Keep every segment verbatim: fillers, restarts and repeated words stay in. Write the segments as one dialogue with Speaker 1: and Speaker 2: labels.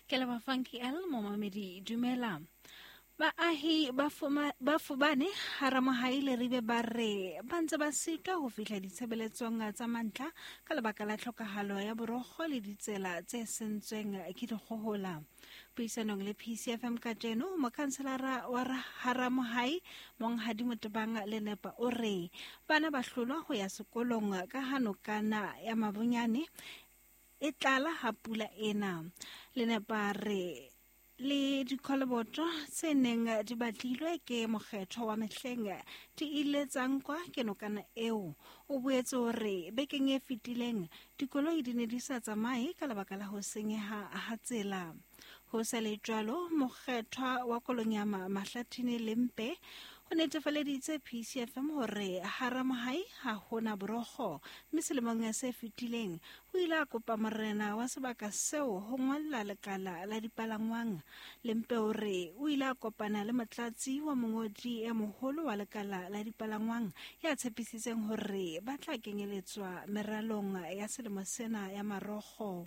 Speaker 1: Ke leboha Funky L, momamedi dumela. Baahi ba fuma- ba Fubane Haramohai Leribe ba re ba ntse ba sitwa ho fihla ditshebeletsong tsa mantlha ka lebaka la tlhokahalo ya borokgo le ditsela tse sentsweng ke dikgohola. Puisanong le P C F M kajeno, mokhanselara wa Haramohai Monghadi Motebang Lenepa o re bana ba hlolwa ho ya sekolong ka ha nokana ya Mabonyane e tlala ha pula ena. Lenepa re le dikoloboto tse neng di batlilwe ke mokgetho wa mehleng di ile tsa nkwa ke nokana eo. O boetse o re bekeng e fetileng dikoloi di ne di sa tsamaye ka lebaka la ho senyeha ha tsela. Ho sa le jwalo, mokgethwa wa Kolonyama Mahlathini Lempe o netefaleditse P C F M hore Haramohai ha hona borokgo, mme selemong se fetileng o ile a kopa morena wa sebaka seo ho ngolla lekala la dipalangwang. Lempe o re o ile a kopana le motlatsi wa mongodi e moholo wa lekala la dipalangwang ya tshepisitseng hore ba tla kenyeletswa meralong ya selemo sena ya marokgo.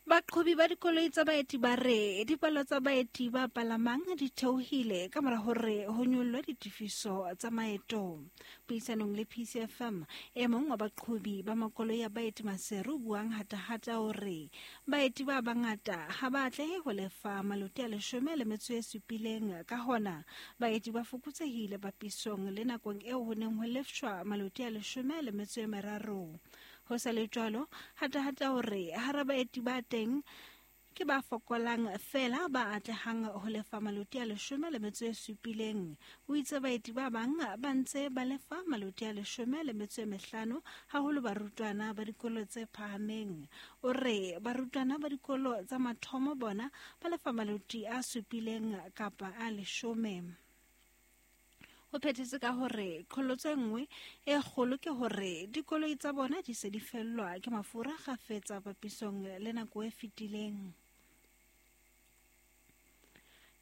Speaker 1: Baqhobi ba dikoloi tsa baeti ba re dipalo tsa baeti ba palamang di theohile ka mora hore ho nyollwe ditefiso tsa maeto. Puisanong le P C F M, e mong wa baqhobi ba makoloi a baeti Maseru buang hatahata o re baeti ba bangata ha ba atlehe ho lefa maloti a leshome le metso e supileng, ka hona baeti ba fokotsehile papisong le nakong eo ho neng ho lefshwa maloti a leshome le metso e meraro. Ho sa le jwalo, hatahata hore hara baeti ba teng ke ba fokolang feela ba atlehang ho lefa maloti a leshome le metso e supileng. O itse baeti ba bang ba ntse ba lefa maloti a leshome le metso e mehlano, haholo barutwana ba dikolo tse phahameng. O re barutwana ba dikolo tsa mathomo bona ba lefa maloti a supileng kapa a leshome. O phethetse ka hore qholotso e nngwe e kgolo ke hore dikoloi tsa bona di se di fellwa ke mafura kgafetsa papisong le nako e fetileng.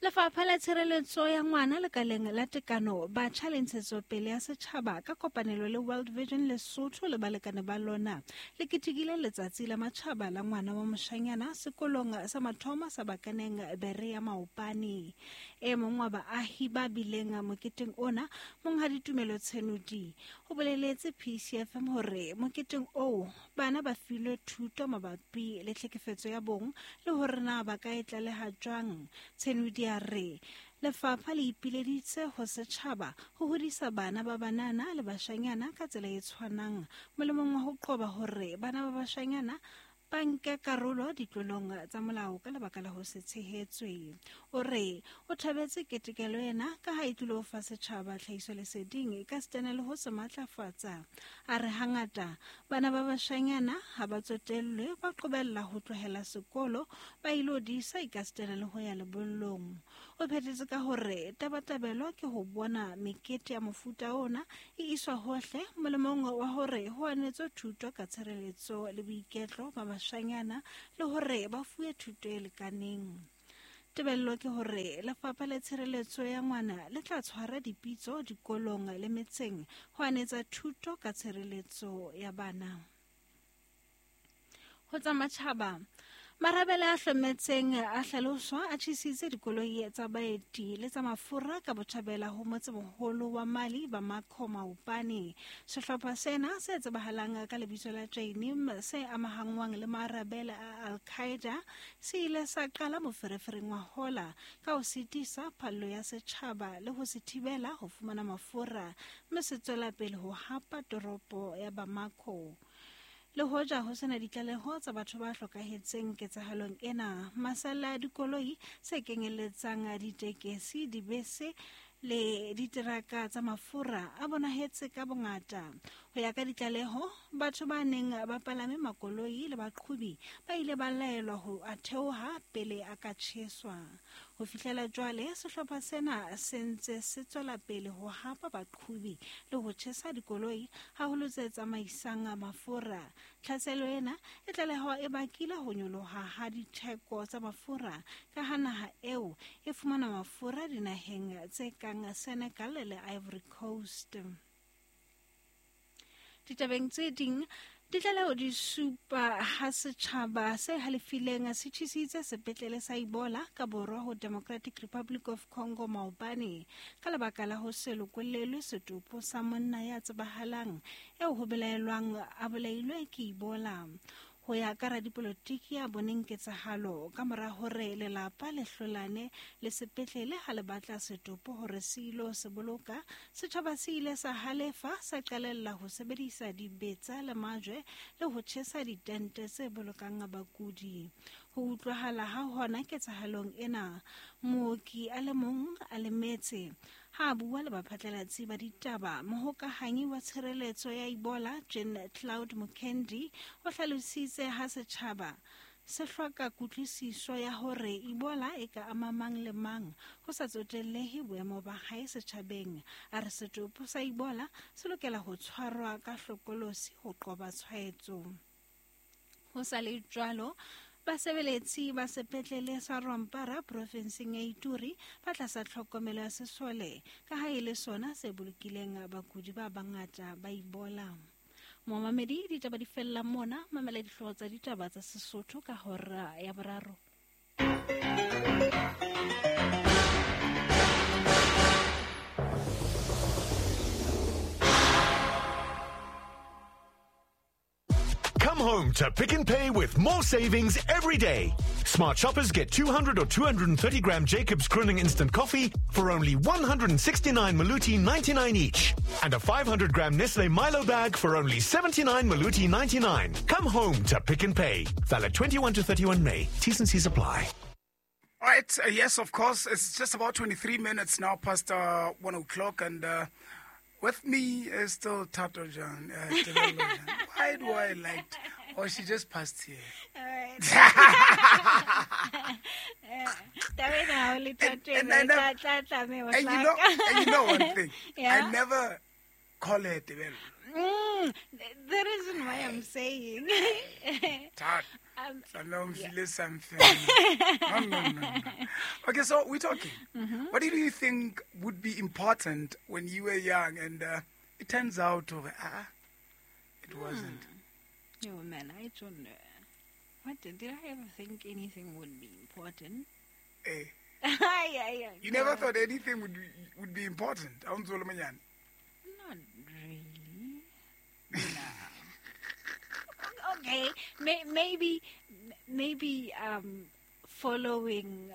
Speaker 1: Lefapha la Tshireletso ya Ngwana lekaleng la Tekano, Batjha le Ntshetsopele ya Setjhaba ka kopanelo le World Vision Lesotho le balekane ba lona le ketekile letsatsi la matjhaba la ngwana wa moshanyana sekolong sa mathomo sa Bakaneng Bere ya Maopane. E mong wa baahi ba bileng moketeng ona, Monghadi Tumelo Tshenodi, o boleletse P C F M hore moketeng oo bana ba filwe thuto mabapi le tlhekefetso ya bong le hore na ba ka e tlaleha jwang. Tshenodi a re lefapha le ipileditse ho setjhaba ho hodisa bana ba banana le bashanyana ka tsela e tshwanang, molemong wa ho qoba hore bana ba bashanyana ba nke karolo ditlolong tsa molao ka lebaka la ho se tshehetswe. O re o thabetse ketekelo ena ka ha e tlilo fa setjhaba tlhahisoleseding ka sitana le ho se matlafatsa. A re hangata bana ba bashanyana ha ba tsotellwe, ba qobella ho tlohela sekolo ba ilo disa ekasitana le ho ya lebollong. O phethetse ka hore tabatabelo ke ho bona mekete ya mofuta ona e iswa hohle molemong wa hore ho anetswe thuto ka tshireletso le boiketlo ba bashanyana le hore ba fuwe thuto e lekaneng. Tebello ke hore lefapha la tshireletso ya ngwana le tla tshwara dipitso dikolong le metseng ho anetsa thuto ka tshireletso ya bana. Ho tsa matjhaba, marabele a hlometseng a hlaloswa a tjhesitse dikoloi tsa baeti le tsa mafura ka botjhabela ho motsemoholo wa Mali Bamako maopane. Sehlopha sena se tsebahalang ka lebitso la Jainim se amahangwang le marabele a Al-Qaeda se ile sa qala moferefereng wa hola ka ho sitisa phallo ya setjhaba le ho se thibela ho fumana mafura, mme se tswela pele ho hapa toropo ya Bamako. Le hoja ho sena ditlaleho tsa batho ba hlokahetseng ketsahalong ena, masalla a dikoloi se kenyelletsang ditekesi, dibese le diteraka tsa mafura a bonahetse ka bongata. Ho ya ka ditlaleho, batho ba neng ba palame makoloi le baqhobi ba ile ba laelwa ho a theoha pele a ka tjheswa. Ho fihlela jwale, sehlopha sena se ntse se tswela pele ho hapa baqhobi le ho tjhesa dikoloi, haholo tse tsamaisang mafura. Tlhaselo ena e tlalehwa e bakile ho nyoloha ha ditheko tsa mafura ka ha naha eo e fumana mafura dinaheng tse kang Senegal le Ivory Coast. Ditabeng tse ding, Ditlaleho di supa ha setjhaba se halefileng se tjhesitse sepetlele sa Ebola ka borwa ho Democratic Republic of Congo maobane ka lebaka la ho se lokollelwe setopo sa monna ya tsebahalang eo ho belaelwang a bolailwe ke Ebola. Ho ya ka radipolotiki ya boneng ketsahalo ka mora hore lelapa le hlolane le sepetlele ha le batla setopo hore se ilo se boloka, setjhaba se ile sa halefa sa qalella ho sebedisa dibetsa le majwe le ho tjhesa ditente tse bolokang bakudi. Ho utlwahala ha hona ketsahalong ena, mooki a le mong a lemetse. Ha bua le baphatlalatsi ba ditaba, mohokahanyi wa tshireletso ya Ebola Jean Claude Mukendi o hlalositse ha setjhaba se hloka kutlwisiso ya hore Ebola e ka ama mang le mang ho sa tsotellehe boemo ba hae setjhabeng. A re setopo sa Ebola se lokela ho tshwarwa ka hlokolosi ho qoba tshwaetso. Ho sa le jwalo, basebeletsi ba sepetlele sa Rwampara profenseng ya Ituri ba tlasa tlhokomelo ya sesole ka ha e le sona se bolokileng bakudi ba bangata ba Ebola. Momamedi, ditaba di fella mona, mamela dihlooho tsa ditaba tsa Sesotho ka hora ya boraro.
Speaker 2: Come home to Pick n Pay with more savings every day. Smart shoppers get two hundred or two hundred thirty gram Jacobs Crooning Instant Coffee for only one hundred sixty-nine Maluti ninety-nine each. And a five hundred gram Nestle Milo bag for only seventy-nine Maluti ninety-nine. Come home to Pick n Pay. Valid twenty-one to thirty-one May. T's and C's apply.
Speaker 3: All right. Uh, yes, of course. It's just about twenty-three minutes now past uh, one o'clock. And Uh, with me is still Thato Jan. Uh, Why do I like... T- oh, she just passed here.
Speaker 1: All right.
Speaker 3: and, and, I never, and, you know, and you know one thing.
Speaker 1: Yeah?
Speaker 3: I never call her Tebello.
Speaker 1: Mm, the reason why I'm saying...
Speaker 3: Tat.
Speaker 1: Um,
Speaker 3: yeah. Something. No, no, no, no. Okay, so we're talking.
Speaker 1: Mm-hmm.
Speaker 3: What did you think would be important when you were young? And uh, it turns out, uh, it wasn't.
Speaker 1: Hmm. Oh, man, I don't know. What did, did I ever think anything would be important?
Speaker 3: Eh.
Speaker 1: yeah, yeah,
Speaker 3: you
Speaker 1: no.
Speaker 3: never thought anything would be, would be important?
Speaker 1: Not really. No. Okay, May, maybe, maybe um, following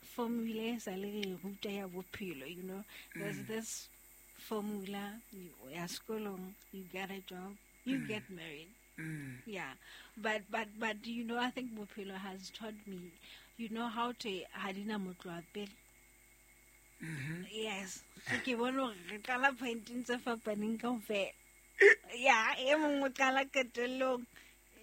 Speaker 1: formula sa le ruta ya bophelo, you know, there's
Speaker 3: mm.
Speaker 1: this formula. You ya sekolong, you get a job, you
Speaker 3: mm.
Speaker 1: get married.
Speaker 3: Mm.
Speaker 1: Yeah, but but but you know, I think bophelo has taught me, you know, how to hadina motloa pele.
Speaker 3: Mm-hmm.
Speaker 1: Yes, ke bona hore re qala pointeng tse fapaneng kaofela. Yeah, e mong o qala qetellong,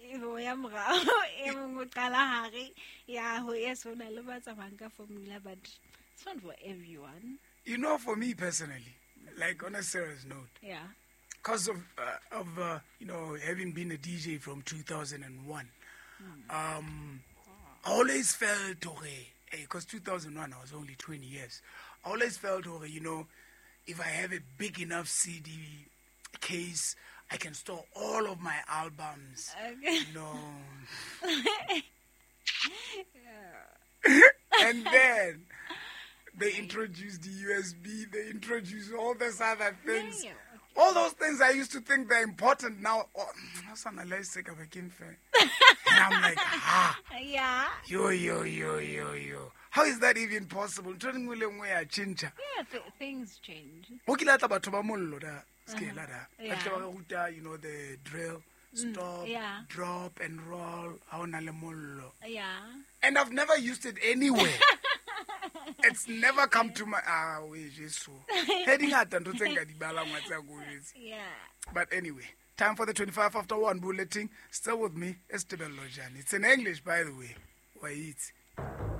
Speaker 1: e bo ya morao, e mong o qala hare. Yeah, ho yes, ho na le ba tsamayang ka formula, but it's not for everyone.
Speaker 3: You know, for me personally, like on a serious note,
Speaker 1: yeah,
Speaker 3: because of uh, of uh, you know, having been a D J from two thousand one,
Speaker 1: mm.
Speaker 3: um, I always felt okay, because two thousand one I was only twenty years. I always felt okay, you know, if I have a big enough C D case, I can store all of my albums.
Speaker 1: Okay.
Speaker 3: You know. And then they introduced the U S B, they introduced all these other things.
Speaker 1: Yeah, okay.
Speaker 3: All those things I used to think they're important now. Oh, and I'm like, ah.
Speaker 1: Yeah.
Speaker 3: Yo, yo, yo, yo, yo. How is that even possible? Yeah,
Speaker 1: th- things change.
Speaker 3: Uh-huh. You know, the drill, stop,
Speaker 1: mm, yeah.
Speaker 3: drop, and roll.
Speaker 1: Yeah.
Speaker 3: And I've never used it anywhere. It's never come to my... Ah, wait, Jesus.
Speaker 1: Yeah.
Speaker 3: But anyway, time for the twenty-five after one bulletin. Still with me, Tebello Jane. It's in English, by the way. Wait.